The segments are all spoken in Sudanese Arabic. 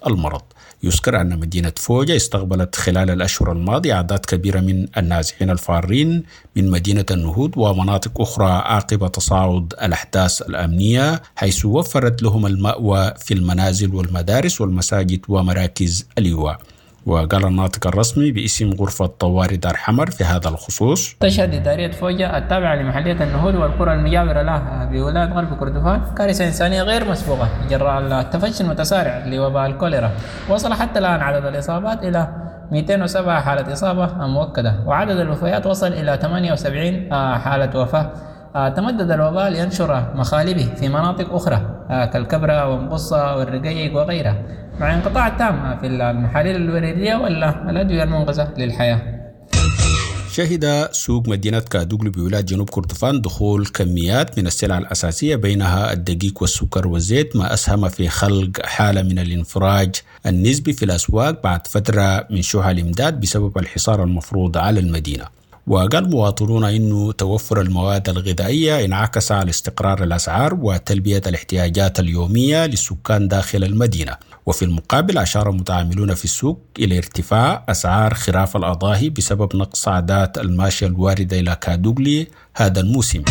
المرض. يذكر أن مدينة فوجة استقبلت خلال الأشهر الماضية أعداد كبيرة من النازحين الفارين من مدينة النهود ومناطق أخرى عقب تصاعد الأحداث الأمنية، حيث وفرت لهم المأوى في المنازل والمدارس والمساجد ومراكز الإيواء. وقال الناطق الرسمي باسم غرفة طوارئ دار حمر في هذا الخصوص: تشهد إدارية فوجة التابعة لمحلية النهود والقرى المجاورة لها بولاية غرب كردفان كارثة إنسانية غير مسبوقة جراء التفشي المتسارع لوباء الكوليرا. وصل حتى الآن عدد الإصابات إلى 207 حالة إصابة مؤكدة، وعدد الوفيات وصل إلى 78 حالة وفاة. تمدد الوباء لينشر مخالبه في مناطق أخرى كالكبرى ومقصة والرقيق وغيرها، مع انقطاع التام في المحاليل الوريدية ولا الأدوية المنقذة للحياة. شهد سوق مدينة كادوغلي بولاية جنوب كردفان دخول كميات من السلع الأساسية بينها الدقيق والسكر والزيت، ما أسهم في خلق حالة من الانفراج النسبي في الأسواق بعد فترة من شح الإمداد بسبب الحصار المفروض على المدينة. وقال مواطنون إنه توفر المواد الغذائية انعكس على استقرار الأسعار وتلبية الاحتياجات اليومية للسكان داخل المدينة. وفي المقابل أشار متعاملون في السوق إلى ارتفاع أسعار خراف الأضاحي بسبب نقص عادات الماشية الواردة إلى كادوغلي هذا الموسم.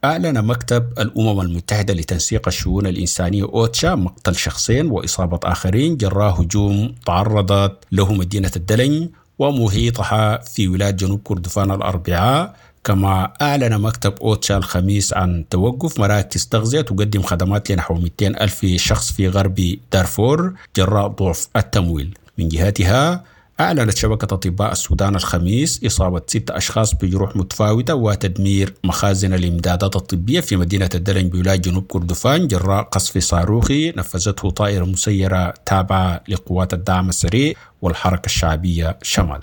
أعلن مكتب الأمم المتحدة لتنسيق الشؤون الإنسانية أوتشا مقتل شخصين وإصابة آخرين جراء هجوم تعرضت له مدينة الدلنج ومحيطها في ولاية جنوب كردفان الأربعاء. كما أعلن مكتب أوتشا الخميس عن توقف مراكز تغذية تقدم خدمات لنحو 200 ألف شخص في غرب دارفور جراء ضعف التمويل. من جهتها أعلنت شبكة أطباء السودان الخميس إصابة 6 أشخاص بجروح متفاوتة وتدمير مخازن الإمدادات الطبية في مدينة الدلنج بولاية جنوب كردفان جراء قصف صاروخي نفذته طائرة مسيرة تابعة لقوات الدعم السريع والحركة الشعبية شمال.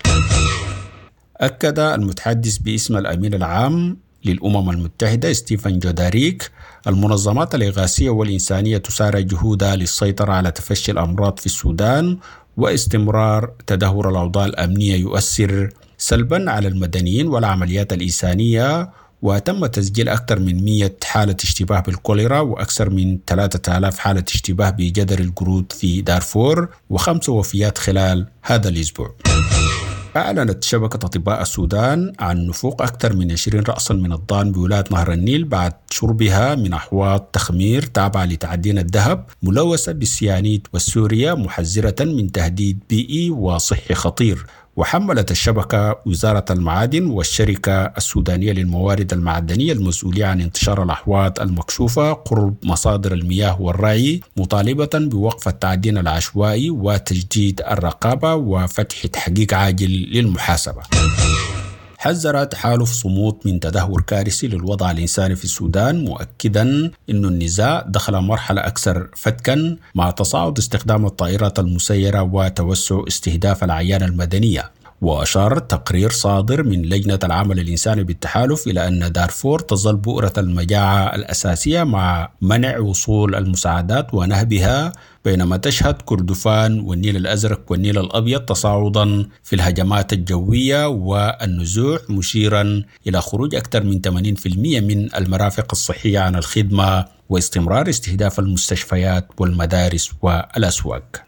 أكد المتحدث باسم الأمين العام للأمم المتحدة ستيفن جوداريك المنظمات الإغاثية والإنسانية تسارع جهودها للسيطرة على تفشي الأمراض في السودان، واستمرار تدهور الأوضاع الأمنية يؤثر سلبا على المدنيين والعمليات الإنسانية. وتم تسجيل أكثر من 100 حالة اشتباه بالكوليرا وأكثر من 3000 حالة اشتباه بجدر القرود في دارفور و5 وفيات خلال هذا الأسبوع. أعلنت شبكة أطباء السودان عن نفوق أكثر من 20 رأسا من الضان بولاية نهر النيل بعد شربها من أحواض تخمير تابعة لتعدين الذهب ملوثة بالسيانيد والسوريا، محذرة من تهديد بيئي وصحي خطير. وحملت الشبكة وزارة المعادن والشركة السودانية للموارد المعدنية المسؤولية عن انتشار الأحواض المكشوفة قرب مصادر المياه والرعي، مطالبة بوقف التعدين العشوائي وتجديد الرقابة وفتح تحقيق عاجل للمحاسبة. حذر تحالف صمود من تدهور كارثي للوضع الإنساني في السودان، مؤكدا أن النزاع دخل مرحلة أكثر فتكا مع تصاعد استخدام الطائرات المسيرة وتوسع استهداف الأعيان المدنية. وأشار تقرير صادر من لجنة العمل الإنساني بالتحالف إلى أن دارفور تظل بؤرة المجاعة الأساسية مع منع وصول المساعدات ونهبها، بينما تشهد كردفان والنيل الأزرق والنيل الأبيض تصاعدا في الهجمات الجوية والنزوح، مشيرا إلى خروج أكثر من 80% من المرافق الصحية عن الخدمة واستمرار استهداف المستشفيات والمدارس والأسواق.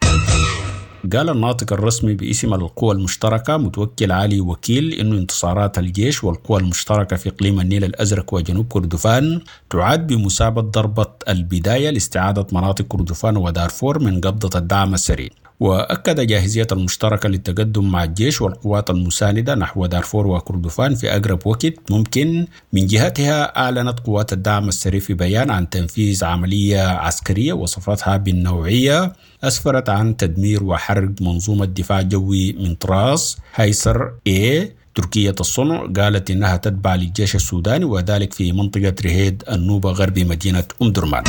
قال الناطق الرسمي باسم القوى المشتركة متوكل علي وكيل إنه انتصارات الجيش والقوى المشتركة في إقليم النيل الأزرق وجنوب كردفان تعد بمثابة ضربة البداية لاستعادة مناطق كردفان ودارفور من قبضة الدعم السريع. وأكد جاهزية المشتركة للتقدم مع الجيش والقوات المساندة نحو دارفور وكردفان في أقرب وقت ممكن. من جهتها أعلنت قوات الدعم السريع في بيان عن تنفيذ عملية عسكرية وصفتها بالنوعية أسفرت عن تدمير وحرق منظومة دفاع جوي من طراز هايسر إيه تركية الصنع، قالت إنها تتبع للجيش السوداني، وذلك في منطقة رهيد النوبة غرب مدينة أم درمان.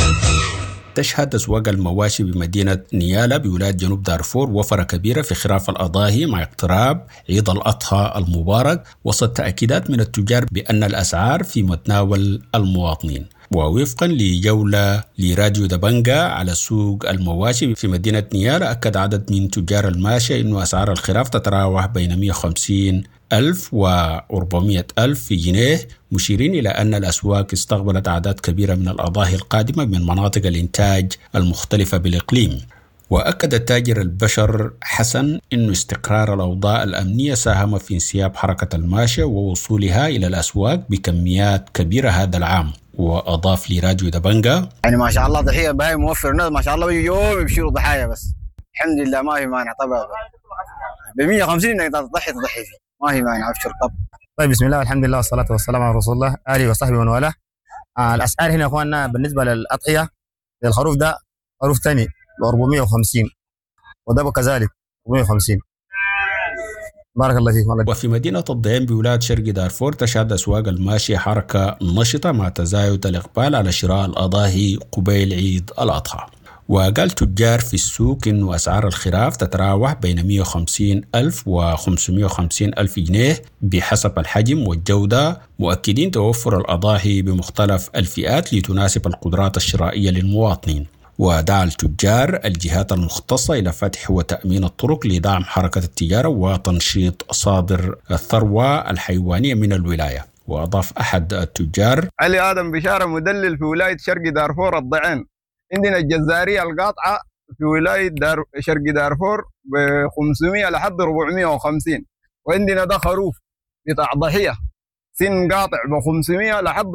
تشهد أسواق المواشي بمدينة نيالا بولاية جنوب دارفور وفرة كبيرة في خراف الأضاحي مع اقتراب عيد الأضحى المبارك، وسط تأكيدات من التجار بأن الأسعار في متناول المواطنين. ووفقا لجولة لراديو دبنجا على سوق المواشي في مدينة نيالا، أكد عدد من تجار الماشية أن أسعار الخراف تتراوح بين 150 ألف و 400 ألف جنيه، مشيرين إلى أن الأسواق استقبلت أعداد كبيرة من الأضاحي القادمة من مناطق الإنتاج المختلفة بالإقليم. وأكد التاجر البشر حسن أن استقرار الأوضاع الأمنية ساهم في انسياب حركة الماشية ووصولها إلى الأسواق بكميات كبيرة هذا العام. وأضاف لراديو دبنجا: يعني ما شاء الله ضحية بهاي موفر، الناس ما شاء الله يوم يبشروا ضحايا، بس الحمد لله ما في مانع. طبعا ب 150 انك تضحي فيه، ما في مانع، ابشر. طب طيب، بسم الله والحمد لله والصلاة والسلام على رسول الله آله وصحبه ومن والاه. الأسعار هنا يا إخواننا بالنسبة للأضحية، الخروف ده خروف ثاني ب 450، وده كذلك 450. بارك الله فيك والله. وفي مدينة الضعين بولاية شرق دارفور تشهد أسواق الماشية حركة نشطة مع تزايد الإقبال على شراء الأضاحي قبيل عيد الأضحى. وقال تجار في السوق إنه أسعار الخراف تتراوح بين 150 ألف و 550 ألف جنيه بحسب الحجم والجودة، مؤكدين توفر الأضاحي بمختلف الفئات لتناسب القدرات الشرائية للمواطنين. ودعا التجار الجهات المختصة إلى فتح وتأمين الطرق لدعم حركة التجارة وتنشيط صادر الثروة الحيوانية من الولاية. وأضاف أحد التجار: علي آدم بشارة، مدلل في ولاية شرق دارفور الضعين. عندنا الجزارية القاطعة في ولاية شرق دارفور ب 500 لحد 450، وعندنا ده خروف بتاع ضحية سن قاطع ب 500 لحد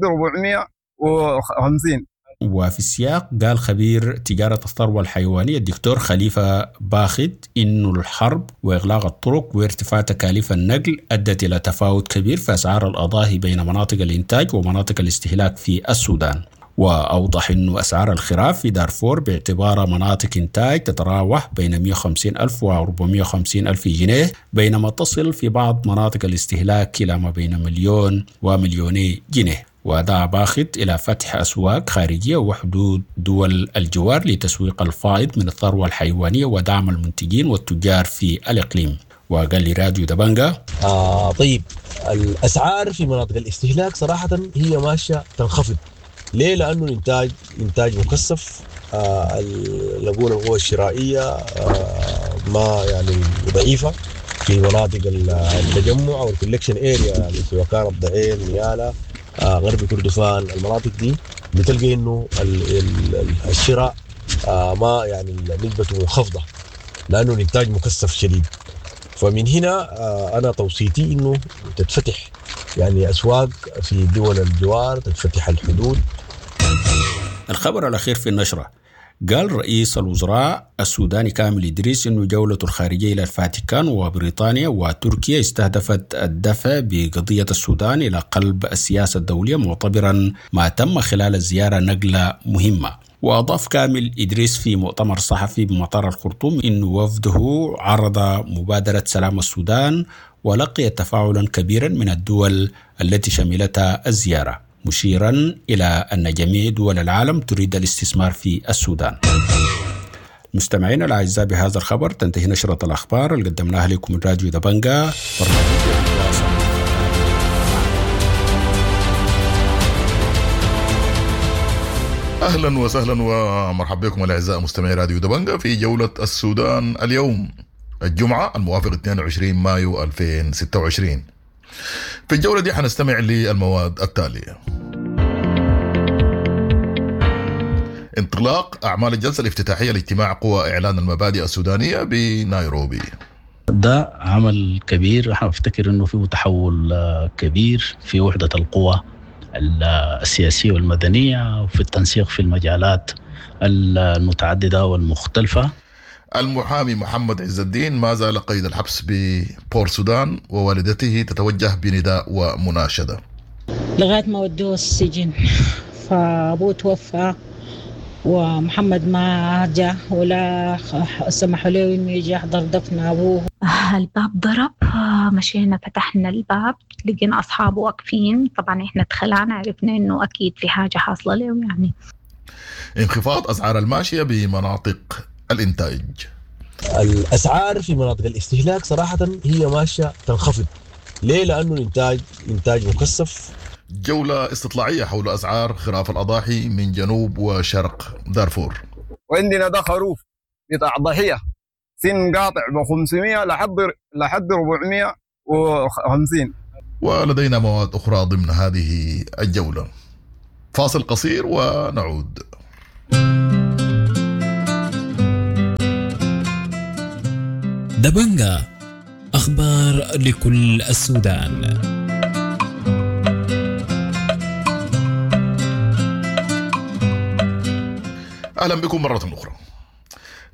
450. وفي السياق قال خبير تجارة الثروة الحيوانية الدكتور خليفة باخت إنه الحرب وإغلاق الطرق وارتفاع تكاليف النقل أدت إلى تفاوت كبير في أسعار الأضاحي بين مناطق الإنتاج ومناطق الاستهلاك في السودان. وأوضح أن أسعار الخراف في دارفور باعتبارها مناطق إنتاج تتراوح بين 150 ألف و 450 ألف جنيه، بينما تصل في بعض مناطق الاستهلاك إلى ما بين 1 و2 مليون جنيه. ودعا باخت إلى فتح أسواق خارجية وحدود دول الجوار لتسويق الفائض من الثروة الحيوانية ودعم المنتجين والتجار في الإقليم. وقال لراديو دبنجا: طيب، الأسعار في مناطق الاستهلاك صراحة هي ماشية تنخفض. ليه؟ لأنه الإنتاج إنتاج مكثف، نقول القوة الشرائية ما يعني ضعيفة في مناطق التجمع أو ال collection area، يعني سواء كانت الضعين، نيالا، غرب كردفان، المناطق دي بتلقى انه الشراء ما يعني نسبته منخفضه لانه الانتاج مكثف شديد. فمن هنا انا توصيتي انه تتفتح يعني اسواق في دول الجوار، تتفتح الحدود. الخبر الأخير في النشرة: قال رئيس الوزراء السوداني كامل إدريس أن جولته الخارجية إلى الفاتيكان وبريطانيا وتركيا استهدفت الدفع بقضية السودان إلى قلب السياسة الدولية، معتبرا ما تم خلال الزيارة نقلة مهمة. وأضاف كامل إدريس في مؤتمر صحفي بمطار الخرطوم أن وفده عرض مبادرة سلام السودان ولقي تفاعلا كبيرا من الدول التي شملتها الزيارة، مشيرا إلى أن جميع دول العالم تريد الاستثمار في السودان. مستمعينا الأعزاء، بهذا الخبر تنتهي نشرة الأخبار اللي قدمناها لكم من راديو دبنجا، برنامج الواصل. اهلا وسهلا ومرحبا بكم الاعزاء مستمعي راديو دبنجا في جولة السودان اليوم، الجمعة الموافق 22 مايو 2026. في الجولة دي حنستمع للمواد التالية: انطلاق أعمال الجلسة الافتتاحية لاجتماع قوى إعلان المبادئ السودانية بنيروبي. ده عمل كبير، احنا افتكر انه فيه تحول كبير في وحدة القوى السياسية والمدنية وفي التنسيق في المجالات المتعددة والمختلفة. المحامي محمد عز الدين ما زال قيد الحبس ببور سودان، ووالدته تتوجه بنداء ومناشدة. لغاية ما ودوه السجن، فأبوه توفى ومحمد ما جاء ولا سمحوا له انه يجي يحضر دفن ابوه. الباب ضرب، مشينا فتحنا الباب لقينا اصحابه واقفين. طبعا احنا اتخلعنا، عرفنا انه اكيد في حاجه حاصله له يعني. انخفاض اسعار الماشيه بمناطق الانتاج. الاسعار في مناطق الاستهلاك صراحه هي ماشيه تنخفض. ليه؟ لانه الانتاج انتاج مكثف. جولة استطلاعية حول أسعار خراف الأضاحي من جنوب وشرق دارفور. وعندنا ده خروف بتاع ضحية سن قاطع ب 500 لحد 450. ولدينا مواد أخرى ضمن هذه الجولة. فاصل قصير ونعود. دبنجا، أخبار لكل السودان. أهلا بكم مرة أخرى.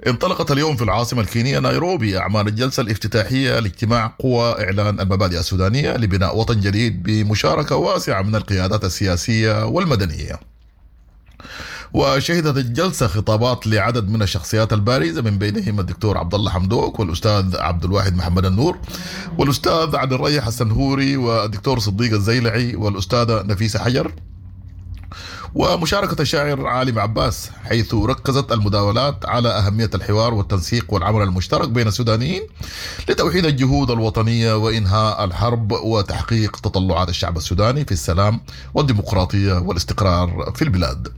انطلقت اليوم في العاصمة الكينية نيروبي أعمال الجلسة الافتتاحية لاجتماع قوى إعلان المبادئ السودانية لبناء وطن جديد بمشاركة واسعة من القيادات السياسية والمدنية. وشهدت الجلسة خطابات لعدد من الشخصيات البارزة، من بينهم الدكتور عبد الله حمدوك والأستاذ عبد الواحد محمد النور والأستاذ عبد الريح السنهوري والدكتور صديق الزيلعي والأستاذة نفيسة حجر، ومشاركة الشاعر عالم عباس، حيث ركزت المداولات على أهمية الحوار والتنسيق والعمل المشترك بين السودانيين لتوحيد الجهود الوطنية وإنهاء الحرب وتحقيق تطلعات الشعب السوداني في السلام والديمقراطية والاستقرار في البلاد.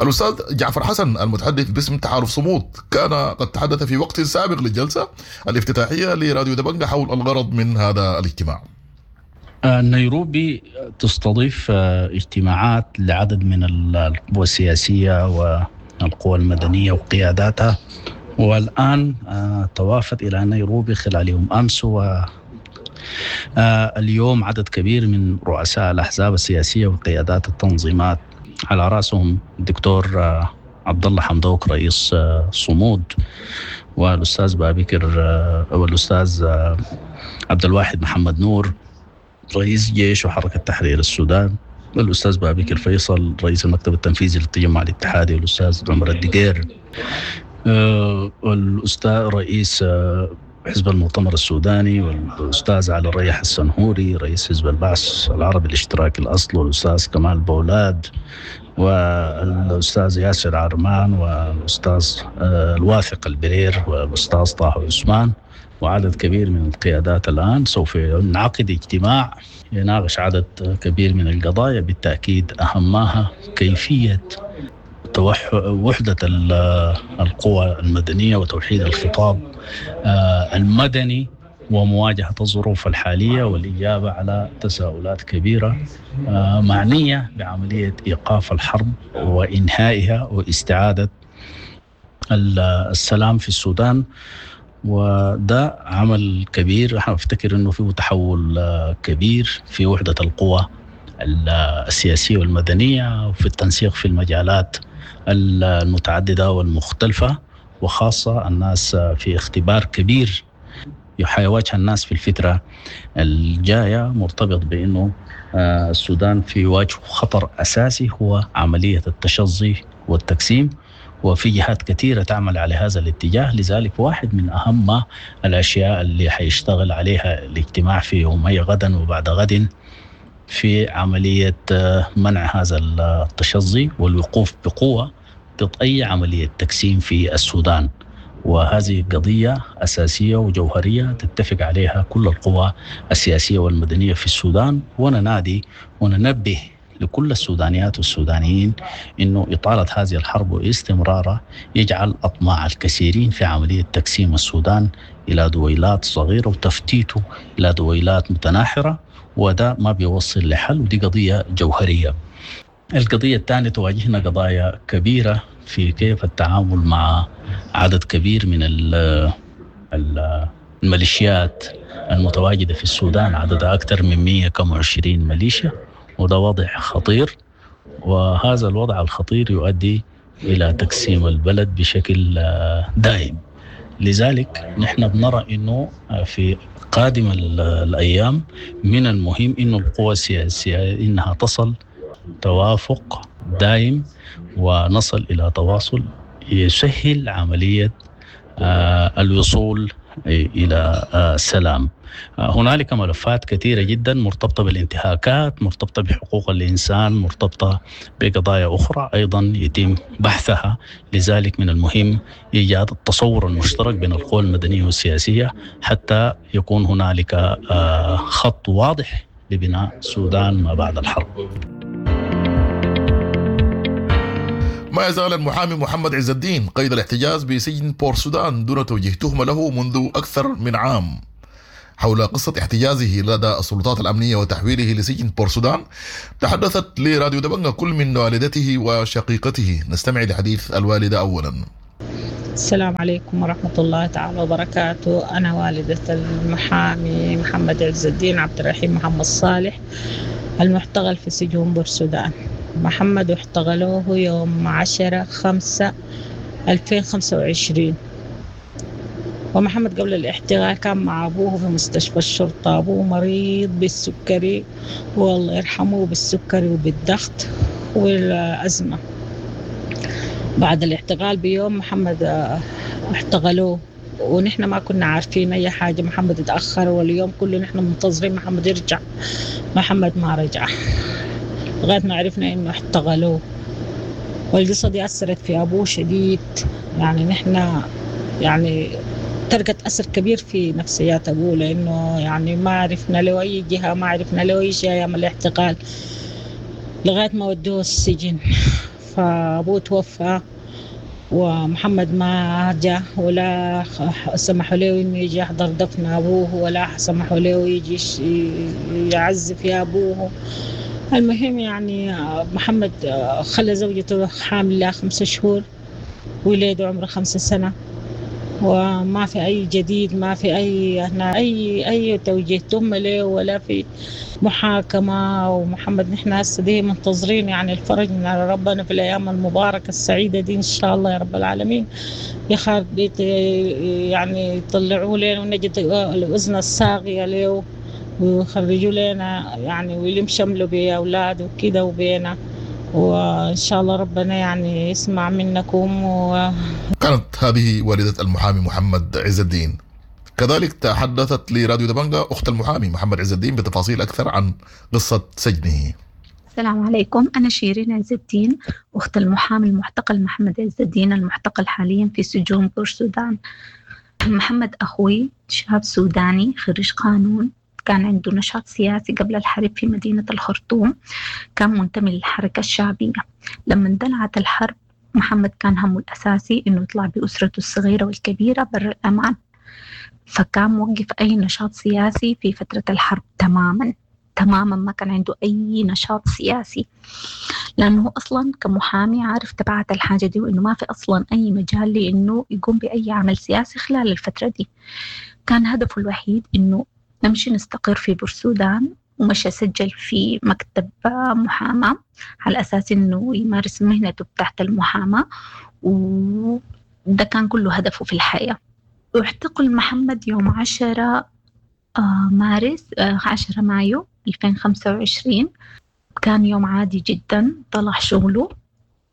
الأستاذ جعفر حسن المتحدث باسم تحالف صمود كان قد تحدث في وقت سابق للجلسة الافتتاحية لراديو دبنجة حول الغرض من هذا الاجتماع. نيروبي تستضيف اجتماعات لعدد من القوى السياسية والقوى المدنية وقياداتها، والآن توافد إلى نيروبي خلال يوم أمس و اليوم عدد كبير من رؤساء الأحزاب السياسية وقيادات التنظيمات، على رأسهم الدكتور عبد الله حمدوك رئيس صمود، والأستاذ بابكر والأستاذ عبد الواحد محمد نور رئيس جيش وحركة تحرير السودان، والأستاذ بابكر فيصل رئيس المكتب التنفيذي للتجمع الاتحادي، والأستاذ عمر الدقير، والأستاذ رئيس حزب المؤتمر السوداني، والأستاذ علي الريح السنهوري رئيس حزب البعث العربي الاشتراكي الأصل، والأستاذ كمال بولاد، والأستاذ ياسر عرمان، والأستاذ الواثق البرير، والأستاذ طه عثمان، وعدد كبير من القيادات. الآن سوف ينعقد اجتماع يناقش عدد كبير من القضايا، بالتأكيد أهمها كيفية وحدة القوى المدنية وتوحيد الخطاب المدني ومواجهة الظروف الحالية والإجابة على تساؤلات كبيرة معنية بعملية إيقاف الحرب وإنهائها واستعادة السلام في السودان. وده عمل كبير، احنا افتكر انه فيه تحول كبير في وحدة القوى السياسية والمدنية وفي التنسيق في المجالات المتعددة والمختلفة، وخاصة الناس في اختبار كبير حيواجه الناس في الفترة الجاية، مرتبط بأنه السودان في وجه خطر أساسي هو عملية التشظي والتقسيم، وفي جهات كثيرة تعمل على هذا الاتجاه. لذلك واحد من أهم الأشياء اللي حيشتغل عليها الاجتماع في يومي غدا وبعد غد في عملية منع هذا التشظي والوقوف بقوة ضد أي عملية تقسيم في السودان. وهذه قضية أساسية وجوهرية تتفق عليها كل القوى السياسية والمدنية في السودان، وننادي وننبه لكل السودانيات والسودانيين أنه إطالة هذه الحرب واستمرارها يجعل أطماع الكثيرين في عملية تقسيم السودان إلى دويلات صغيرة وتفتيته إلى دويلات متناحرة، وده ما بيوصل لحل، ودي قضية جوهرية. القضية الثانية تواجهنا قضايا كبيرة في كيف التعامل مع عدد كبير من الميليشيات المتواجدة في السودان، عددها أكثر من 120 ميليشيا، وده وضع خطير، وهذا الوضع الخطير يؤدي إلى تقسيم البلد بشكل دائم. لذلك نحن بنرى أنه في قادم الأيام من المهم أنه القوى السياسية إنها تصل توافق دائم ونصل إلى تواصل يسهل عملية الوصول إلى السلام. هنالك ملفات كثيرة جدا مرتبطة بالانتهاكات، مرتبطة بحقوق الإنسان، مرتبطة بقضايا أخرى أيضا يتم بحثها. لذلك من المهم إيجاد التصور المشترك بين القوى المدنية والسياسية حتى يكون هنالك خط واضح لبناء السودان ما بعد الحرب. ما يزال المحامي محمد عز الدين قيد الاحتجاز بسجن بور سودان دون توجيه تهمة له منذ أكثر من عام. حول قصة احتجازه لدى السلطات الأمنية وتحويله لسجن بور سودان تحدثت لراديو دبنجة كل من والدته وشقيقته. نستمع لحديث الوالدة أولا. السلام عليكم ورحمة الله تعالى وبركاته. أنا والدة المحامي محمد عز الدين عبد الرحيم محمد صالح المعتقل في سجون بورسودان. محمد اعتقلوه يوم 10/5/2025، ومحمد قبل الاعتقال كان مع أبوه في مستشفى الشرطة. أبوه مريض بالسكري والله يرحمه، بالسكري وبالضغط والأزمة. بعد الاعتقال بيوم محمد اعتقلوه ونحن ما كنا عارفين أي حاجة. محمد اتأخر واليوم كله نحن منتظرين محمد يرجع، محمد ما رجع لغاية ما عرفنا إنه اعتقلوه. والقصة دي أثرت في أبوه شديد، يعني نحن يعني تركت أثر كبير في نفسيات أبوه، لأنه يعني ما عرفنا له أي جهة، ما عرفنا له أي شيء أيام الاعتقال لغاية ما ودوه السجن. فأبوه توفى ومحمد ما جاء ولا سمحوا له إنه يجي يحضر دفن أبوه، ولا سمحوا له يجي يعزف في أبوه. المهم يعني محمد خلى زوجته حاملة 5 شهور، ولاده عمره 5 سنة، وما في أي جديد، ما في أي هنا أي توجيه تم له ولا في محاكمة. ومحمد نحن هسه دي منتظرين يعني الفرج من على ربنا في الأيام المباركة السعيدة دي إن شاء الله يا رب العالمين، يعني يطلعوا لنا ونجد الأذن الصاغية له ويخرجوا لنا يعني ويلم شمله بأولاده وكده وبينا، وإن شاء الله ربنا يعني يسمع منكم. كانت هذه والدة المحامي محمد عز الدين. كذلك تحدثت لراديو دبنجا أخت المحامي محمد عز الدين بتفاصيل أكثر عن قصة سجنه. السلام عليكم، أنا شيرين عز الدين، أخت المحامي المعتقل محمد عز الدين المعتقل حاليا في سجون بورسودان. محمد أخوي شاب سوداني خريج قانون، كان عنده نشاط سياسي قبل الحرب في مدينة الخرطوم، كان منتمي للحركة الشعبية. لما اندلعت الحرب محمد كان همه الأساسي إنه يطلع بأسرته الصغيرة والكبيرة بر الأمان، فكان موقف أي نشاط سياسي في فترة الحرب تماما تماما، ما كان عنده أي نشاط سياسي، لأنه أصلا كمحامي عارف تبعات الحاجة دي، وإنه ما في أصلا أي مجال لإنه يقوم بأي عمل سياسي خلال الفترة دي. كان هدفه الوحيد إنه نمشي نستقر في بورسودان، ومشى سجل في مكتب محاماة على أساس إنه يمارس مهنته تحت المحاماة، وده كان كله هدفه في الحياة. واعتقل محمد يوم 10 مارس 10 مايو 2025. كان يوم عادي جدا، طلع شغله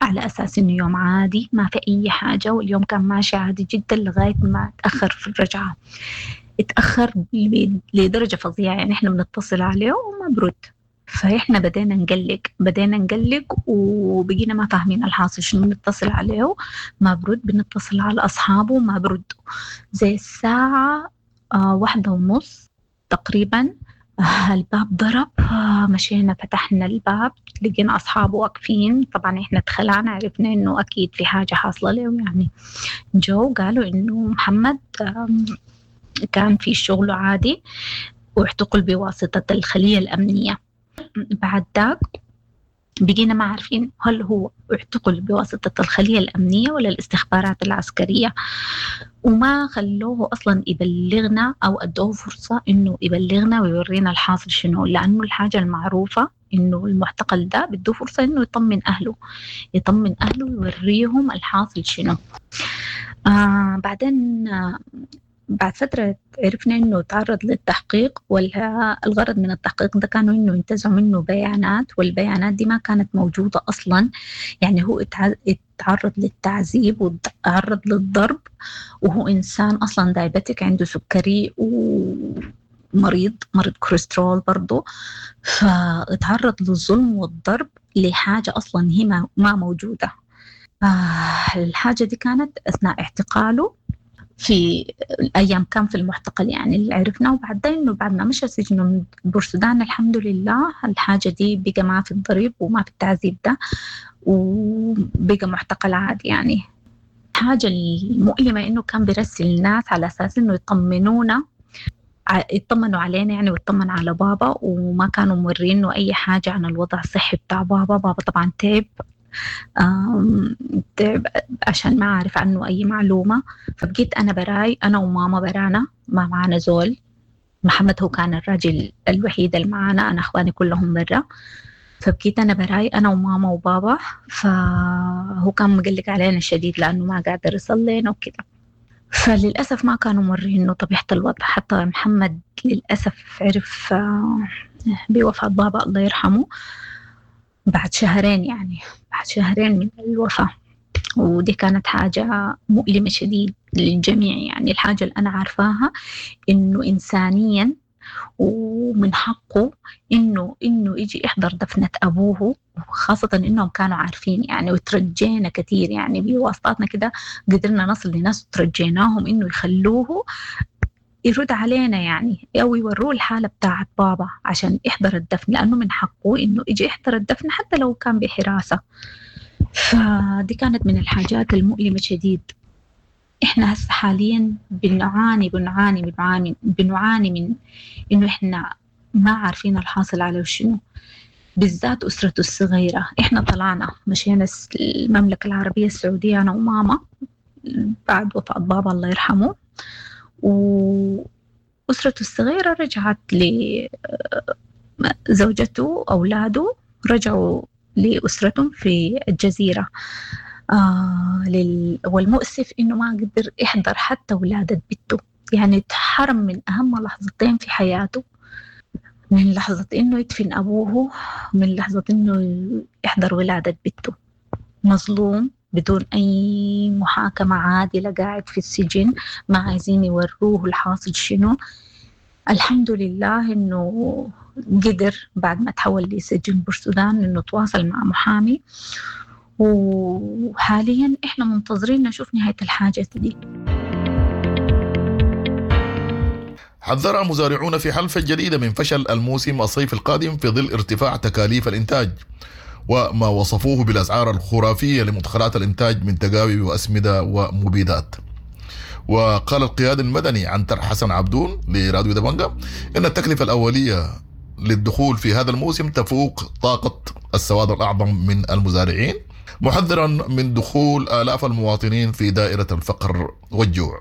على أساس إنه يوم عادي ما في أي حاجة، واليوم كان ماشي عادي جدا لغاية ما تأخر في الرجعة. اتأخر لدرجة فظيعة، يعني إحنا بنتصل عليه وما برد، فإحنا بدينا نقلق وبقينا ما فاهمين الحاصل شنو. بنتصل عليه ما برد، بنتصل على أصحابه ما برد. زي الساعة 1:30 تقريبا الباب ضرب، مشينا فتحنا الباب لقينا أصحابه واقفين. طبعا إحنا اتخلعنا، عرفنا إنه أكيد في حاجة حاصلة له يعني. جو قالوا إنه محمد كان في شغله عادي واعتقل بواسطة الخلية الأمنية. بعد ذاك بقينا ما عارفين هل هو اعتقل بواسطة الخلية الأمنية ولا الاستخبارات العسكرية، وما خلوه أصلا يبلغنا أو أدوه فرصة إنه يبلغنا ويورينا الحاصل شنو، لأنه الحاجة المعروفة إنه المعتقل ده بده فرصة إنه يطمن أهله، ويوريهم الحاصل شنو. بعدين بعد فترة عرفنا إنه تعرض للتحقيق، والغرض من التحقيق ده كانوا إنه ينتزعوا منه بيانات، والبيانات دي ما كانت موجودة أصلا. يعني هو اتعرض للتعذيب وتعرض للضرب، وهو إنسان أصلا diabetic، عنده سكري ومريض مريض كوليسترول برضه، فاتعرض للظلم والضرب لحاجة أصلا هي ما موجودة. الحاجة دي كانت أثناء اعتقاله في الأيام كان في المعتقل، يعني اللي عرفناه. وبعدين إنه بعد ما مشى سجنه من بورسودان الحمد لله الحاجة دي بقى ما في الضريب وما في التعذيب ده، وبقى معتقل عادي. يعني الحاجة المؤلمة إنه كان بيرسل الناس على أساس إنه يطمنونا، يطمنوا علينا يعني، ويطمن على بابا، وما كانوا مورينه أي حاجة عن الوضع الصحي بتاع بابا. بابا طبعا تعب، تعب عشان ما عارف عنه أي معلومة. فبقيت أنا براي، أنا وماما برانا، ما معنا زول. محمد هو كان الراجل الوحيد اللي معانا، أنا أخواني كلهم برا. فبقيت أنا براي، أنا وماما وبابا. فهو كان مقلق علينا شديد لأنه ما قادر يصل لنا وكده. فللأسف ما كانوا مورينه طبيعة الوضع. حتى محمد للأسف عرف بوفاة بابا الله يرحمه بعد شهرين، يعني بعد شهرين من الوفاة. ودي كانت حاجة مؤلمة شديد للجميع. يعني الحاجة اللي أنا عارفاها إنه إنسانيا ومن حقه إنه يجي يحضر دفنة أبوه، وخاصة إنهم كانوا عارفين يعني، وترجينا كثير يعني بواسطاتنا كده قدرنا نصل لناس وترجيناهم إنه يخلوه يرد علينا يعني، أو يوروه الحالة بتاعت بابا عشان يحضر الدفن، لأنه من حقه إنه يجي يحضر الدفن حتى لو كان بحراسة. فدي كانت من الحاجات المؤلمة شديد. إحنا هسه حاليا بنعاني بنعاني بنعاني بنعاني من إنه إحنا ما عارفين الحاصل على شنو، بالذات أسرته الصغيرة. إحنا طلعنا مشينا المملكة العربية السعودية أنا وماما بعد وفاة بابا الله يرحمه، وأسرته الصغيرة رجعت لزوجته أولاده، رجعوا لأسرتهم في الجزيرة. والمؤسف إنه ما قدر يحضر حتى ولادة بنته، يعني تحرم من أهم لحظتين في حياته، من لحظة إنه يدفن أبوه، من لحظة إنه يحضر ولادة بنته. مظلوم بدون أي محاكمة عادلة، قاعد في السجن، ما عايزين يوروه الحاصل شنو. الحمد لله إنه قدر بعد ما تحول لسجن بورسودان إنه تواصل مع محامي، وحاليا إحنا منتظرين نشوف نهاية الحاجة دي. حذر مزارعون في حلفة الجديدة من فشل الموسم الصيف القادم في ظل ارتفاع تكاليف الإنتاج وما وصفوه بالأسعار الخرافية لمدخلات الإنتاج من تقاوي وأسمدة ومبيدات. وقال القيادي المدني عنتر حسن عبدون لراديو دبنجا إن التكلفة الأولية للدخول في هذا الموسم تفوق طاقة السواد الأعظم من المزارعين، محذرا من دخول آلاف المواطنين في دائرة الفقر والجوع.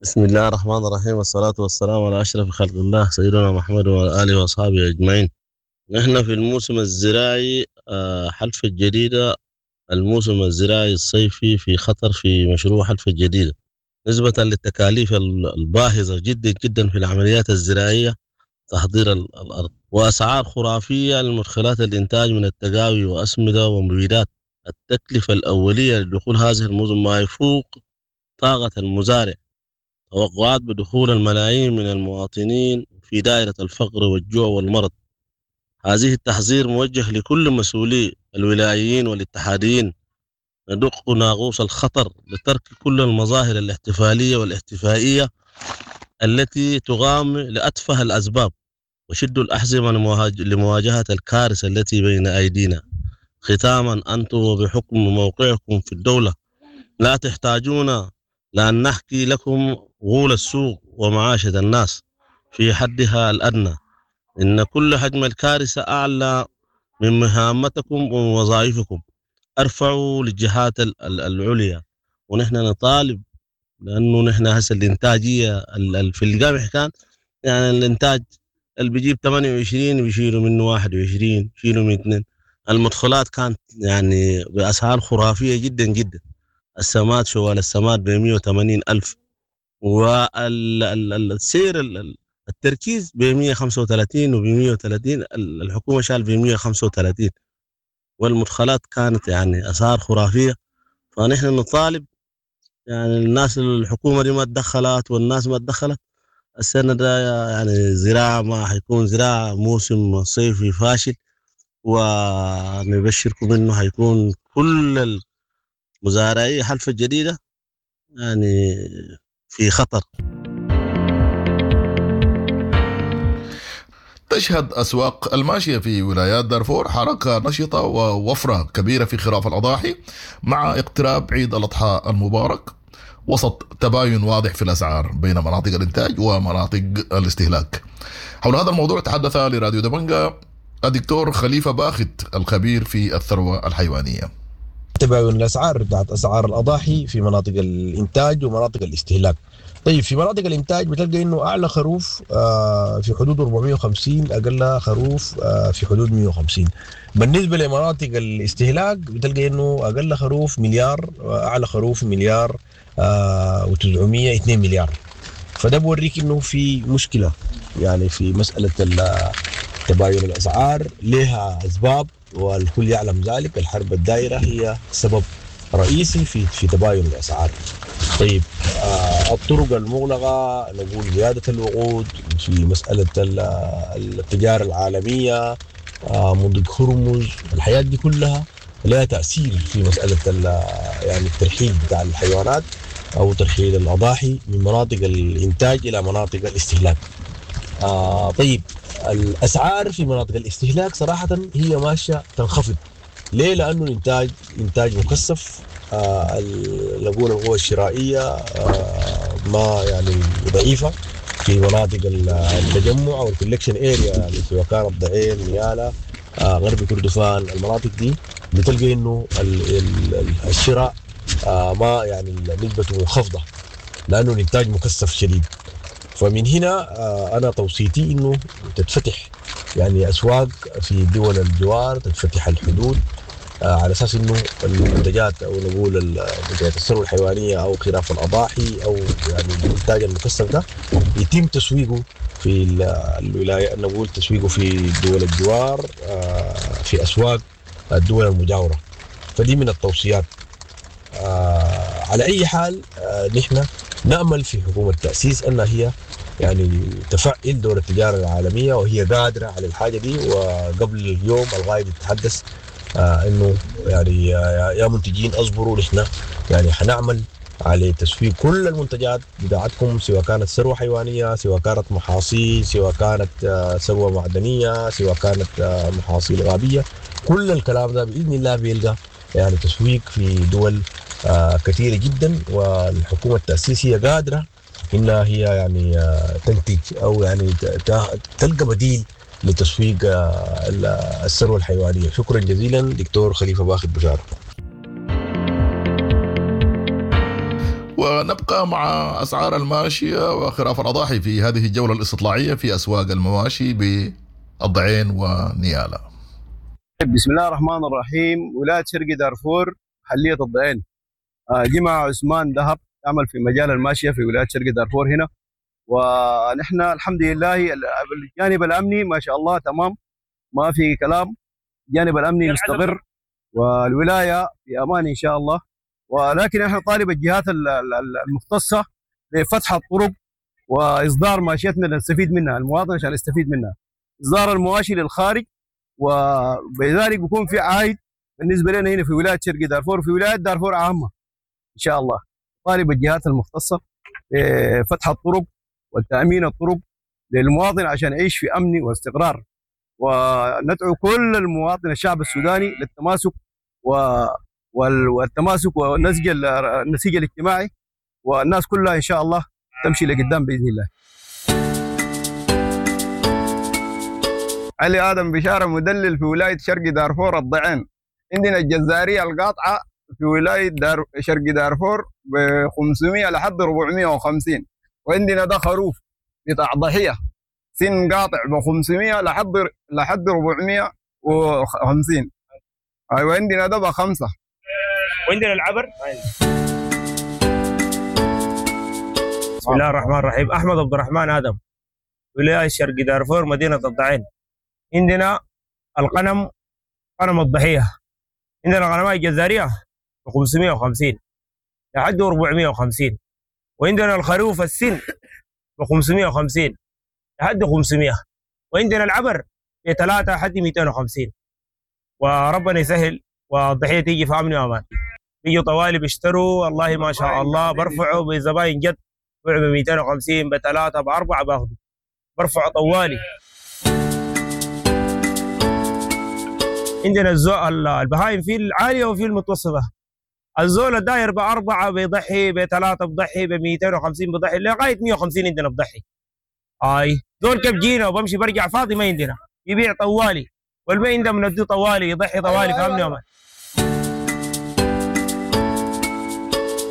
بسم الله الرحمن الرحيم، والصلاة والسلام على أشرف خلق الله سيدنا محمد وعلى آله وأصحابه أجمعين. نحن في الموسم الزراعي حلفة الجديدة، الموسم الزراعي الصيفي في خطر في مشروع حلفة الجديدة نسبة للتكاليف الباهظة جدا جدا في العمليات الزراعية، تحضير الأرض، وأسعار خرافية لمدخلات الإنتاج من التقاوي وأسمدة ومبيدات. التكلفة الأولية لدخول هذه الموسم ما يفوق طاقة المزارع. توقعات بدخول الملايين من المواطنين في دائرة الفقر والجوع والمرض. هذه التحذير موجه لكل مسؤولي الولايين والاتحاديين. ندق ناقوس الخطر لترك كل المظاهر الاحتفالية والاحتفائية التي تقام لأتفه الأسباب، وشدوا الأحزمة لمواجهة الكارثة التي بين أيدينا. ختاما، أنتم وبحكم موقعكم في الدولة لا تحتاجون لأن نحكي لكم غول السوق ومعاشة الناس في حدها الأدنى. إن كل حجم الكارثة أعلى من مهامتكم ووظائفكم. أرفعوا للجهات العليا. ونحن نطالب، لأنه نحن هسه الإنتاجية في القمح كان يعني الإنتاج اللي بيجيب 28 بيشيلوا منه 21، بيشيلوا من 2. المدخلات كانت يعني بأسعار خرافية جدا جدا. السماد، شوال السماد ب 180 ألف، والسير التركيز ب 135 وب 130، الحكومة شال ب 135، والمدخلات كانت يعني أسعار خرافية. فنحن نطالب يعني الناس، الحكومة دي ما تدخلت والناس ما تدخلت. السنة ده يعني زراعة ما حيكون زراعة، موسم صيفي فاشل، ونبشركم إنه حيكون كل المزارعي حلفة الجديدة يعني في خطر. تشهد أسواق الماشية في ولايات دارفور حركة نشطة ووفرة كبيرة في خراف الأضاحي مع اقتراب عيد الأضحى المبارك، وسط تباين واضح في الأسعار بين مناطق الإنتاج ومناطق الاستهلاك. حول هذا الموضوع تحدث لراديو دبنجا الدكتور خليفة باخت الخبير في الثروة الحيوانية. تباين الاسعار بتاعت اسعار الاضاحي في مناطق الانتاج ومناطق الاستهلاك. طيب في مناطق الانتاج بتلقى انه اعلى خروف في حدود 450، اقل خروف في حدود 150. بالنسبة لمناطق الاستهلاك بتلقى انه اقل خروف مليار، اعلى خروف مليار و900، 2 مليار. فده بوريك انه في مشكلة يعني في مسالة تباين الاسعار، لها اسباب والكل يعلم ذلك. الحرب الدائرة هي سبب رئيسي في تباين الاسعار. طيب الطرق المغلقة، نقول زيادة الوقود في مسالة التجارة العالمية، مضيق هرمز، الحياة دي كلها لها تاثير في مسالة يعني الترحيل بتاع الحيوانات او ترحيل الاضاحي من مناطق الانتاج الى مناطق الاستهلاك. طيب الاسعار في مناطق الاستهلاك صراحة هي ماشية تنخفض. ليه؟ لانه الانتاج انتاج مكثف، نقول القوة الشرائية ما يعني ضعيفة في مناطق التجمع او ال collection area، يعني سواء كانت الضعين، نيالا، غرب كردفان، المناطق دي بتلقى انه الشراء ما يعني نسبته منخفضة لانه الانتاج مكثف شديد. فمن هنا انا توصيتي انه تتفتح يعني اسواق في دول الجوار، تتفتح الحدود على اساس انه المنتجات او نقول منتجات الثروة الحيوانية او خراف الاضاحي او يعني الانتاج المكثف ده يتم تسويقه في الولاية، نقول تسويقه في دول الجوار، في اسواق الدول المجاورة. فدي من التوصيات. على اي حال نحن نامل في حكومة التاسيس انها هي يعني تفعل دور التجارة العالمية، وهي قادرة على الحاجة دي. وقبل اليوم الغايب يتحدث انه يعني يا منتجين اصبروا، نحن يعني حنعمل على تسويق كل المنتجات بتاعتكم، سواء كانت ثروة حيوانية، سواء كانت محاصيل، سواء كانت ثروة معدنية، سواء كانت محاصيل غابيه. كل الكلام ده باذن الله بيلقى يعني تسويق في دول كثيرة جدا. والحكومة التاسيسية قادرة انها هي يعني تنتج او يعني تلقى بديل لتسويق الثروة الحيوانية. شكرا جزيلا دكتور خليفة باخت بشارة. ونبقى مع اسعار الماشية وخراف الاضاحي في هذه الجولة الاستطلاعيه في اسواق المواشي بالضعين ونيالا. بسم الله الرحمن الرحيم. ولاية شرق دارفور، محليه الضعين. جمع عثمان ذهب، يعمل في مجال الماشية في ولاية شرق دارفور هنا. ونحن الحمد لله الجانب الامني ما شاء الله تمام، ما في كلام، الجانب الامني مستقر والولاية في امان ان شاء الله. ولكن احنا طالب الجهات المختصة لفتح الطرق واصدار ماشيتنا لنستفيد منها، المواطن عشان يستفيد منها، اصدار المواشي للخارج، وبذلك بيكون في عائد بالنسبة لنا هنا في ولاية شرق دارفور وفي ولاية دارفور عامة ان شاء الله. طالب الجهات المختصة بفتح الطرق والتامين الطرق للمواطن عشان يعيش في امن واستقرار، وندعو كل المواطن الشعب السوداني للتماسك والتماسك ونسج النسيج الاجتماعي، والناس كلها ان شاء الله تمشي لقدام باذن الله. علي ادم بشارة، مدلل في ولاية شرق دارفور الضعين. عندنا الجزاريه القاطعة في ولاية شرق دارفور ب 500 لحد 450، وعندنا ده خروف بتاع ضحية سن قاطع ب 500 لحد 450. ايوه عندنا ده ب5. وعندنا العبر. بسم الله الرحمن الرحيم. احمد عبد الرحمن ادم، ولاية شرق دارفور، مدينة الضعين. عندنا القنم، قنم الضحية، عندنا غنماء الجزاريه ب 550 لحد 450، وعندنا الخروف السن ب 550 لحد 500، وعندنا العبر ب 3 لحد 250. وربنا يسهل والضحيه تيجي في امن وامان. بيجوا طوالي بيشتروا، والله ما شاء الله برفعوا بزباين جد، بيعوا ب 250 ب3 ب4 باخذوا، برفعوا طوالي. عندنا البهايم في العالية وفي المتوسطة. الزول الداير ب4 بيضحي، ب3 بضحي، ب 250 بضحي، لغاية 150 عندنا بضحي. اي زول كيف جينا وبمشي برجع فاضي ما عندنا، يبيع طوالي. والما عنده بنديه طوالي يضحي طوالي، فهمني يا مان؟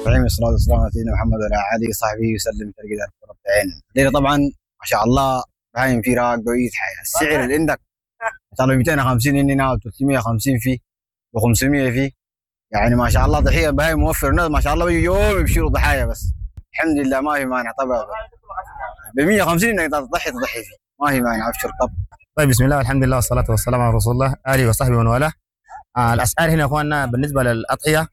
الرحيم، الصلاة والسلام على سيدنا محمد وعلى آله وصحبه وسلم. ترقد رب العين. الليلة طبعا ما شاء الله بهايم في راق قوية حياة. السعر اللي عندك صار 250 عندنا، 350 فيه، و500 فيه، يعني ما شاء الله ضحية بهايم موفر. الناس ما شاء الله بيجوا يوم يبشروا ضحايا بس، الحمد لله ما في مانع. طبعا ب 150 انك تضحي تضحي فيه، ما في مانع، ابشر. طب طيب، بسم الله والحمد لله والصلاة والسلام على رسول الله، آله وصحبه ومن والاه. الأسعار هنا يا إخواننا بالنسبة للأضحية،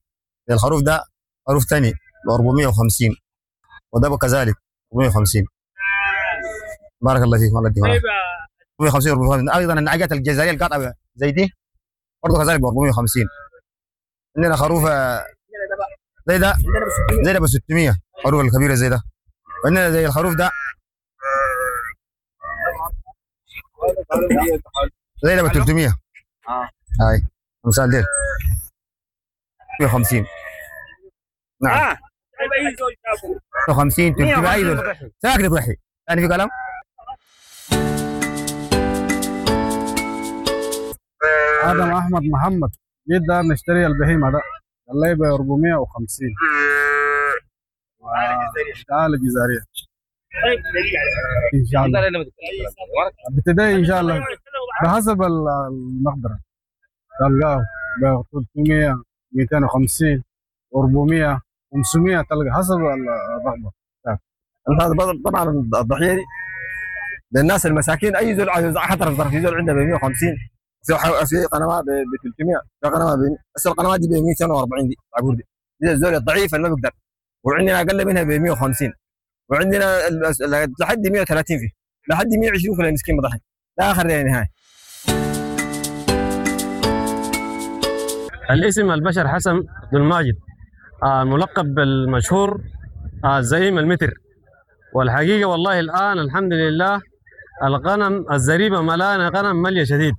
الخروف ده خروف ثاني ب 450، وده كذلك 450. بارك الله فيك، الله يديك العافية. 450، 450. ايضا النعجات الجزائرية القاطعة زي دي برضه كذلك ب 450. عندنا خروف زي ده، زي ده ب 600، خروف الكبيرة زي ده. وعندنا زي الخروف ده، زي ده ب 300. هاي امثال ديل 150. نعم، 150، 300، اي زول ساكن تضحي. ثاني في كلام؟ ادم احمد محمد، جيت دار نشتري البهيمة ده، قال لي ب 450. تعال الجزائرية ان شاء الله ابتدائي ان شاء الله بحسب المقدرة، تلقاه ب 300، 250، 400، 500، تلقى حسب الرغبة. طبعا الضحية دي للناس المساكين، اي زول عايز حتى في زول عنده ب 150، في قنوات ب 300، في قنوات ب، بس القنوات دي ب 240، دي العبور دي الزول الضعيف اللي ما بيقدر. وعندنا اقل منها ب 150، وعندنا لحد 130 فيه، لحد 120 كل المسكين بضحي لا اخر نهاية. الاسم البشر حسن عبد الماجد، الملقب بالمشهور زعيم المتر. والحقيقة والله الآن الحمد لله الغنم الزريبة ملانة غنم ملية شديد،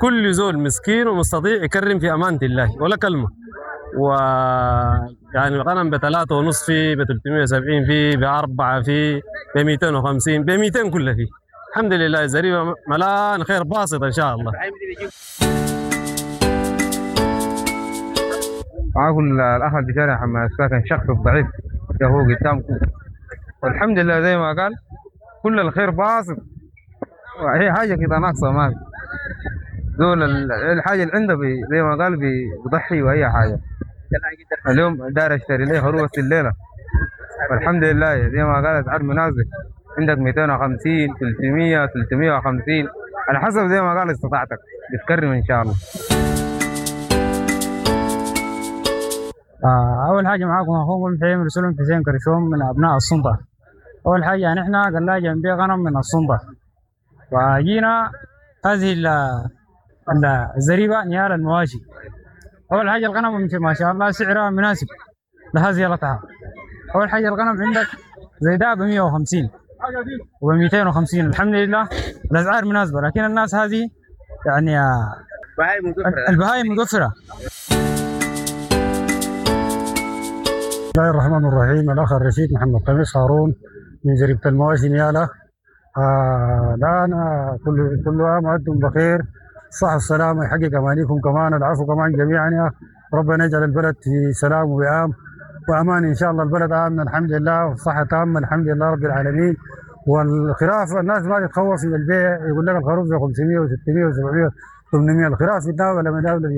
كل زول مسكين ومستطيع يكرم في أمانة الله ولا كلمة. و يعني الغنم ب3.5 في، ب370 في، ب4 في، ب250، ب200 كله فيه. الحمد لله الزريبة ملان خير باسط إن شاء الله. معاكم الأخ البشاري محمد الساكن، شخص الضعيف هو قدامكم، والحمد لله زي ما قال كل الخير باسط، هي حاجة كده ناقصة ما في. زول الحاجة اللي عنده زي ما قال بيضحي وأي حاجة. اليوم دار اشتري لي خروف الليلة، والحمد لله زي ما قال أسعار مناسبة، عندك 250، 300، 350، على حسب زي ما قال استطاعتك بتكرم إن شاء الله. أول حاجة معاكم أخوكم حيم رسول حسين كرشوم من أبناء السلطة. أول حاجة نحن قلاجة نبيع غنم من السلطة، وجينا هذه الزريبة نيال المواشي. أول حاجة الغنم ما شاء الله سعرها مناسب لهذه القطعة. أول حاجة الغنم عندك زي ده ب 150 وب 250، الحمد لله الأسعار مناسبة، لكن الناس هذه يعني البهايم متوفرة. بسم الله الرحمن الرحيم. الأخ الرشيد محمد قميص هارون من زريبة المواشي نيالة. الآن كل عام وأنتم بخير، الصحة والسلامة، يحقق أمانيكم كمان، العفو كمان جميعا يا ربنا يجعل البلد في سلام ووئام وأمان إن شاء الله. البلد آمن الحمد لله، والصحة تامة الحمد لله رب العالمين. والخراف الناس ما تتخوف من البيع، يقول لك الخروف ب 500 و600 و700 800، الخراف في الدولة من دولة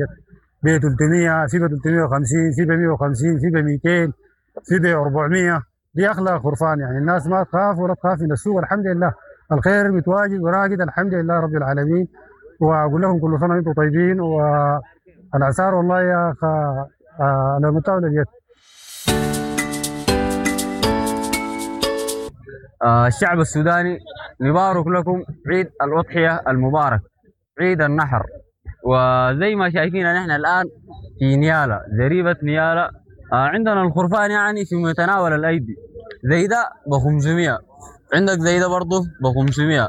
ب 300، في ب 350، في ب 150، في ب 200، في ب 400. دي اغلى خرفان، يعني الناس ما تخاف ولا تخاف من السوق، الحمد لله الخير متواجد وراقد الحمد لله رب العالمين. واقول لكم كل سنة وانتم طيبين، والاسعار والله يا اخ على متاول اليد. الشعب السوداني نبارك لكم عيد الأضحية المبارك، عيد النحر. وزي ما شايفين نحن الآن في نيالة، زريبة نيالة، عندنا الخرفان يعني في متناول الأيدي. زي ده ب 500، عندك زي ده برضه ب 500،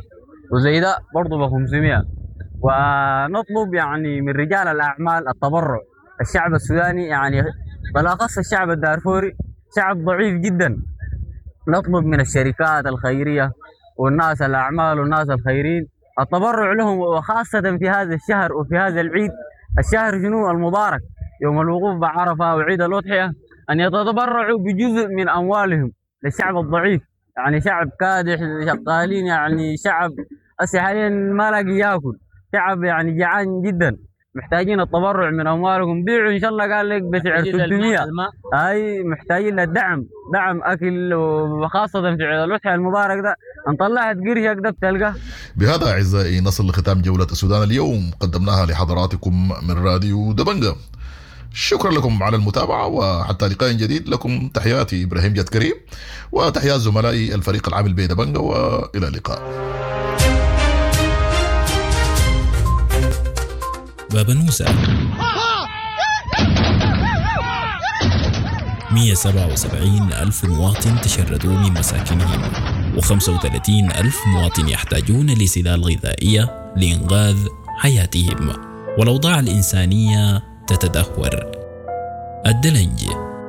وزي ده برضه ب 500. ونطلب يعني من رجال الأعمال التبرع. الشعب السوداني يعني بالأخص الشعب الدارفوري شعب ضعيف جدا، نطلب من الشركات الخيرية والناس الأعمال والناس الخيرين التبرع لهم، وخاصة في هذا الشهر وفي هذا العيد، الشهر شنو المبارك، يوم الوقوف بعرفة وعيد الأضحية، أن يتبرعوا بجزء من أموالهم للشعب الضعيف. يعني شعب كادح، شغالين، يعني شعب هسه حاليا ما لاقي ياكل، شعب يعني جعان جدا، محتاجين التبرع من اموالكم. بيعوا ان شاء الله قال لك بسعر 300، هاي محتاجين للدعم، دعم اكل، وخاصه في عيد الاضحى المبارك ده، ان طلعت قرشك ده بتلقاه. بهذا أعزائي نصل لختام جولة السودان اليوم، قدمناها لحضراتكم من راديو دبنجة. شكرا لكم على المتابعة، وحتى لقاء جديد لكم تحياتي إبراهيم جاد كريم، وتحيات زملائي الفريق العامل بدبنجة، وإلى اللقاء. بابنوسة 177 ألف مواطن تشردوا من مساكنهم، و35 ألف مواطن يحتاجون لسلال غذائية لإنقاذ حياتهم، والأوضاع الإنسانية تتدهور. الدلنج،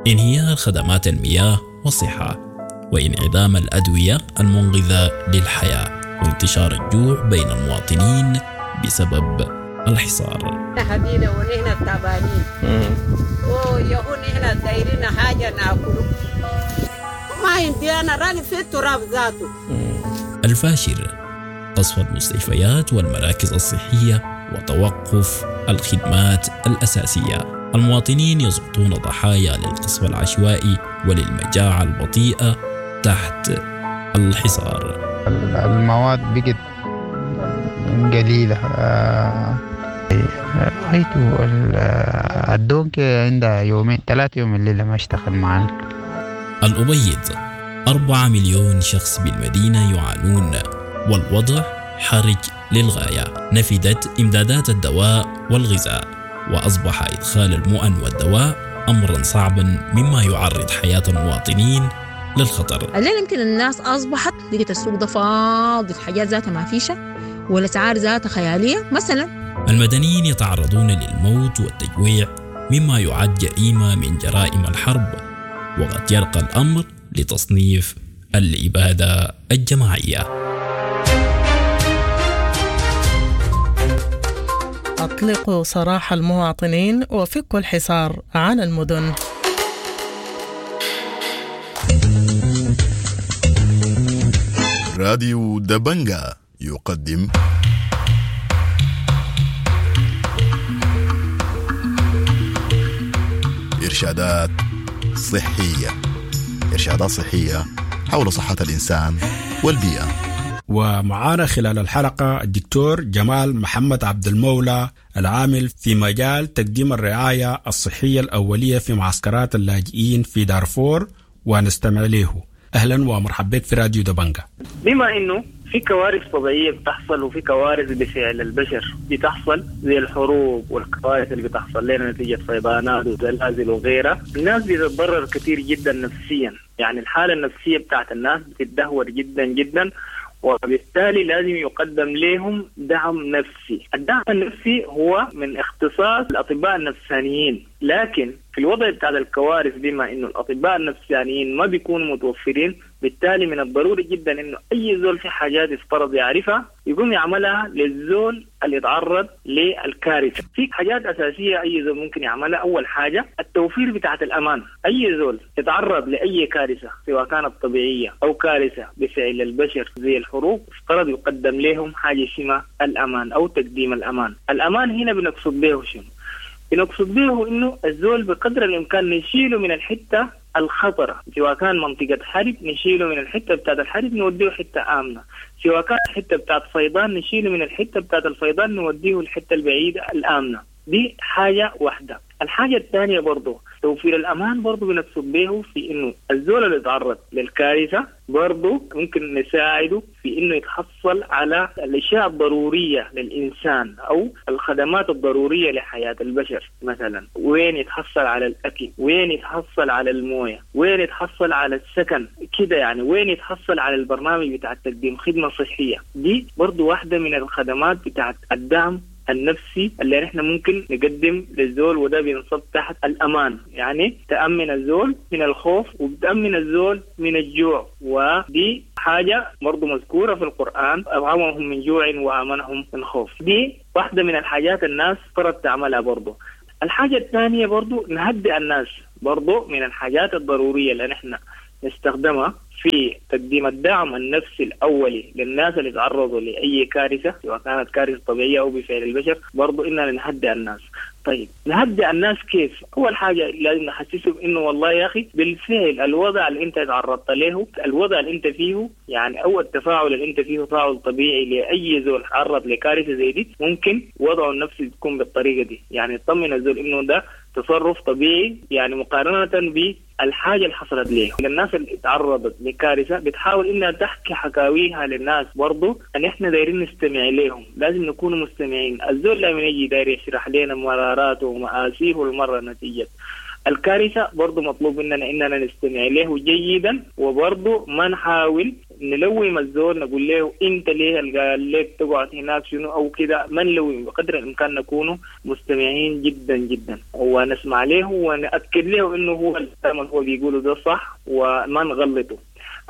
انهيار خدمات المياه والصحة، وانعدام الأدوية المنقذة للحياة، وانتشار الجوع بين المواطنين بسبب الحصار. حبينا ونحن تعبانين، ويهو نحن دايرين حاجة ناكله، ما عندي أنا راني في التراب ذاته. الفاشر، قصف المستشفيات والمراكز الصحية وتوقف الخدمات الأساسية. المواطنين يسقطون ضحايا للقصف العشوائي وللمجاعة البطيئة تحت الحصار. المواد بقت قليلة، رأيت الدونكي عندها يومين 3 يوم الليلة ما اشتغل معنا. الأبيض، 4 مليون شخص بالمدينة يعانون، والوضع حرج للغاية. نفدت إمدادات الدواء والغذاء، وأصبح إدخال المؤن والدواء أمرا صعبا، مما يعرض حياة المواطنين للخطر. الليلة يمكن الناس أصبحت لقيت السوق ده فاضي، الحاجات ذاتها ما فيشة والأسعار ذاتها خيالية مثلا. المدنيين يتعرضون للموت والتجويع، مما يعد جريمة من جرائم الحرب، وقد يرقى الأمر لتصنيف الإبادة الجماعية. أطلقوا سراح المواطنين وفكوا الحصار عن المدن. راديو دبنجا يقدم إرشادات صحية، إرشادات صحية حول صحة الإنسان والبيئة. ومعانا خلال الحلقة الدكتور جمال محمد عبد المولى، العامل في مجال تقديم الرعاية الصحية الأولية في معسكرات اللاجئين في دارفور، ونستمع له. أهلا ومرحبا بك في راديو دبنجا. بما إنه في كوارث طبيعية بتحصل وفي كوارث بفعل البشر بتحصل، زي الحروب والكوارث اللي بتحصل لنا نتيجة فيضانات وزلازل وغيرها، الناس بتتضرر كثير جدا نفسيا. يعني الحالة النفسية بتاعت الناس بتتدهور جدا جدا، وبالتالي لازم يقدم لهم دعم نفسي. الدعم النفسي هو من اختصاص الأطباء النفسانيين، لكن في الوضع بتاع الكوارث بما إنه الأطباء النفسانيين ما بيكونوا متوفرين، بالتالي من الضروري جدا إنه أي زول في حاجات يفترض يعرفها يقوم يعملها للزول اللي يتعرض للكارثة. في حاجات أساسية أي زول ممكن يعملها. أول حاجة التوفير بتاعة الأمان. أي زول يتعرض لأي كارثة سواء كانت طبيعية أو كارثة بفعل البشر زي الحروب، افترض يقدم لهم حاجة اسمها الأمان أو تقديم الأمان. الأمان هنا بنقصد به شنو؟ بنقصد به إنه الزول بقدر الإمكان نشيله من الحتة الخطرة، سواء كان منطقة حرب نشيله من الحتة بتاعت الحرب نوديه حتة آمنة، سواء كان حتة بتاعت فيضان نشيله من الحتة بتاعت الفيضان نوديه الحتة البعيدة الآمنة. دي حاجة واحدة. الحاجة الثانية برضو توفير الأمان، برضو بنقصد به في إنه الزول اللي يتعرض للكارثة برضو ممكن نساعده في إنه يتحصل على الأشياء الضرورية للإنسان أو الخدمات الضرورية لحياة البشر. مثلا وين يتحصل على الأكل، وين يتحصل على الموية، وين يتحصل على السكن كده يعني، وين يتحصل على البرنامج بتاع تقديم خدمة صحية. دي برضو واحدة من الخدمات بتاعت الدعم النفسي اللي نحن ممكن نقدم للزول، وده بينصب تحت الأمان. يعني تأمن الزول من الخوف وبتأمن الزول من الجوع، ودي حاجة حاجة برضو مذكورة في القرآن، أطعمهم من جوع وآمنهم من خوف. دي واحدة من الحاجات الناس فرض تعملها برضو. الحاجة الثانية برضو نهدئ الناس، برضو من الحاجات الضرورية اللي نحن نستخدمها في تقديم الدعم النفسي الأولي للناس اللي تعرضوا لأي كارثة، سواء كانت كارثة طبيعية أو بفعل البشر، برضو إننا نهدئ الناس. طيب نهدئ الناس كيف؟ أول حاجة لازم نحسسهم إنه والله يا أخي بالفعل الوضع اللي أنت تعرضت له، الوضع اللي أنت فيه يعني، أو التفاعل اللي أنت فيه تفاعل طبيعي لأي زول تعرض لكارثة زي دي، ممكن وضعه النفسي تكون بالطريقة دي. يعني طمن الزول إنه ده تصرف طبيعي، يعني مقارنة بالحاجة اللي حصلت ليه. الناس اللي تعرضت لكارثة بتحاول إنها تحكي حكاويها للناس، برضو أن إحنا دايرين نستمع لهم، لازم نكون مستمعين. الزول لما يجي داير يشرح لنا مراراته ومآسيه المرة نتيجة الكارثة، برضو مطلوب مننا إننا نستمع له جيدا، وبرضو ما نحاول نلوم الزول نقول له انت ليه قال لك تقعد هناك شنو او كده، ما نلوم، بقدر الامكان نكون مستمعين جدا جدا ونسمع له ونأكد له انه هو الكلام اللي هو بيقوله ده صح وما نغلطه.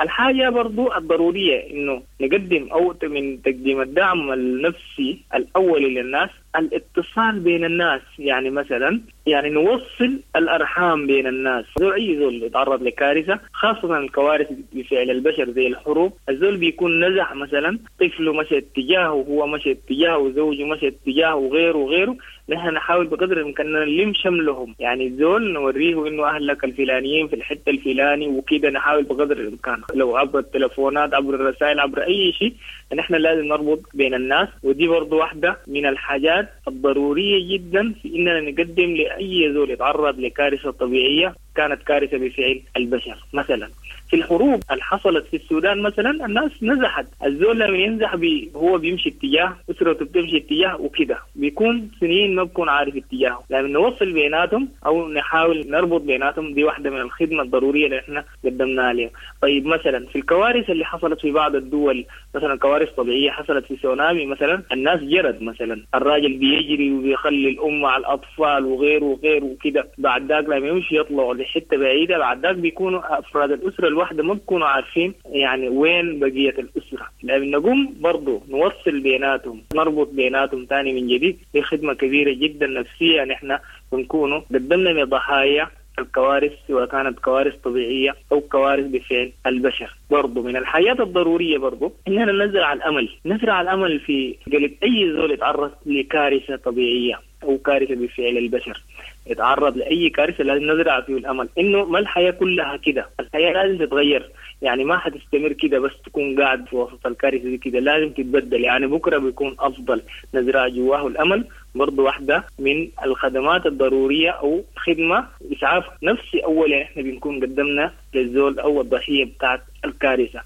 الحاجة برضو الضرورية إنه نقدم أو من تقديم الدعم النفسي الأولي للناس الاتصال بين الناس، يعني مثلا يعني نوصل الأرحام بين الناس. زول أي زول يتعرض لكارثة، خاصة الكوارث بفعل البشر زي الحروب، الزول بيكون نزح مثلا، طفله مشى اتجاهه وهو مشى اتجاهه وزوجه مشى اتجاهه وغيره وغيره. نحن نحاول بقدر الإمكان نلم شملهم، يعني الزول نوريه إنه أهلك الفلانيين في الحتة الفلاني وكده، نحاول بقدر الإمكان لو عبر التلفونات عبر الرسائل عبر أي شيء، نحن لازم نربط بين الناس. ودي برضو واحدة من الحاجات الضرورية جدا في إننا نقدم لأي زول يتعرض لكارثة طبيعية كانت كارثة بفعل البشر. مثلا في الحروب اللي حصلت في السودان مثلا الناس نزحت، الزول لما ينزح هو بيمشي اتجاه، أسرته بتمشي اتجاه وكده، بيكون سنين ما بكون عارف اتجاهه. لما نوصل بيناتهم أو نحاول نربط بيناتهم، دي واحدة من الخدمة الضرورية اللي احنا قدمناها لهم. طيب مثلا في الكوارث اللي حصلت في بعض الدول، مثلا كوارث طبيعية حصلت في سونامي مثلا، الناس جرت مثلا، الراجل بيجري وبيخلي الأم مع الأطفال وغيره وغيره وكده، بعد ذاك لما يمشي يطلعوا لحتة بعيدة، بعد ذاك بيكونوا أفراد الأسرة الواحدة ما بيكونوا عارفين يعني وين بقية الأسرة. لأن نقوم برضو نوصل بيناتهم، نربط بيناتهم تاني من جديد، دي خدمة كبيرة جدا نفسية نحن بنكونوا قدمنا لضحايا الكوارث، سواء كانت كوارث طبيعية أو كوارث بفعل البشر. برضو من الحياة الضرورية برضو إننا نزرع الأمل، نزرع الأمل في قلب أي زول يتعرض لكارثة طبيعية أو كارثة بفعل البشر، يتعرض لأي كارثة لازم نزرع فيه الأمل إنه ما الحياة كلها كده، الحياة لازم تتغير، يعني ما حتستمر كده بس تكون قاعد في وسط الكارثة دي كده، لازم تتبدل، يعني بكرة بيكون أفضل. نزرع جواه الأمل برضو واحدة من الخدمات الضرورية أو خدمة إسعاف نفسي أول إحنا بنكون قدمنا للزول أو الضحية بتاعت الكارثة.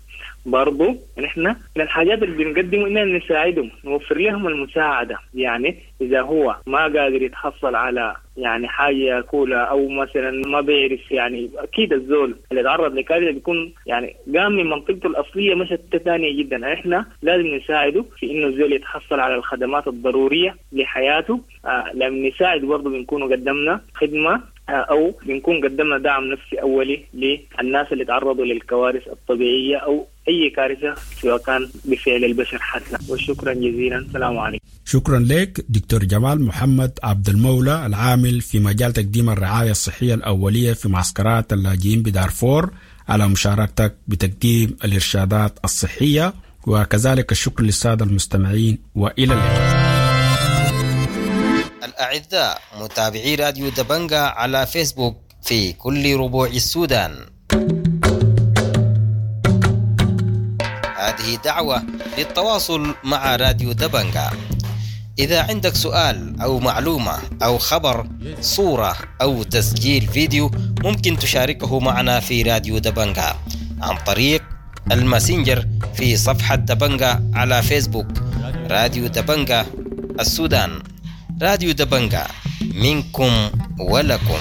برضو نحن من الحاجات اللي بنقدمه إننا نساعدهم، نوفر لهم المساعدة، يعني إذا هو ما قادر يتحصل على يعني حاجة ياكلها أو مثلا ما بيعرف، يعني أكيد الزول اللي تعرض لكارثة بيكون يعني قام من منطقته الأصلية مشت ثانية جدا، إحنا لازم نساعده في إنه الزول يتحصل على الخدمات الضرورية لحياته. لما نساعد برضو بنكون قدمنا خدمة أو بنكون قدمنا دعم نفسي أولي للناس اللي تعرضوا للكوارث الطبيعية أو أي كارثة سواء كان بفعل البشر حتى. وشكرا جزيلا، السلام عليكم. شكرا لك دكتور جمال محمد عبد المولى، العامل في مجال تقديم الرعاية الصحية الأولية في معسكرات اللاجئين بدارفور، على مشاركتك بتقديم الإرشادات الصحية، وكذلك الشكر للسادة المستمعين، وإلى اللقاء. الأعزاء متابعي راديو دبنجا على فيسبوك في كل ربوع السودان، هذه دعوة للتواصل مع راديو دبنجا. إذا عندك سؤال أو معلومة أو خبر، صورة أو تسجيل فيديو، ممكن تشاركه معنا في راديو دبنجا عن طريق الماسنجر في صفحة دبنجا على فيسبوك، راديو دبنجا السودان. راديو دبنجا منكم ولكم.